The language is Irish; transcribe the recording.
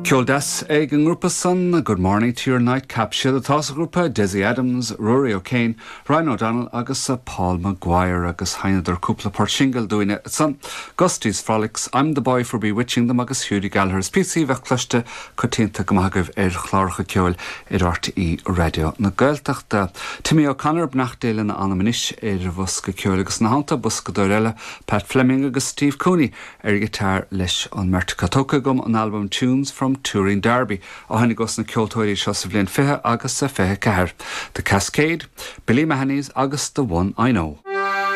Ceol deas ag an ngrúpa san, Good Morning to Your Nightcap. Siad atá sa ghrúpa, Dessie Adams, Rory O'Kane, Ryan O'Donnell agus Paul Maguire agus sheinneadar cúpla port singil dúinne ansan, Gusty's Frolics, I'm the Boy for Bewitching Them agus Hughie Gallacher's, píosaí a bheadh cloiste coitianta go maith agaibh ar chláracha ceoil ar RTÉ Raidió na Gaeltachta. Timmy O'Connor, beannacht Dé lena anam anois, ar an bhosca ceoil agus ina theannta, boscadóir eile, Pat Fleming agus Steve Cooney ar ghiotár leis an mbeirt acu. Tógtha agam ón albam Tunes from Tuairín Darby a tháinig ós na ceoltóirí seo sa bhliain 20 agus 24, The Cascade, Billy Mahoney's agus The One I Know.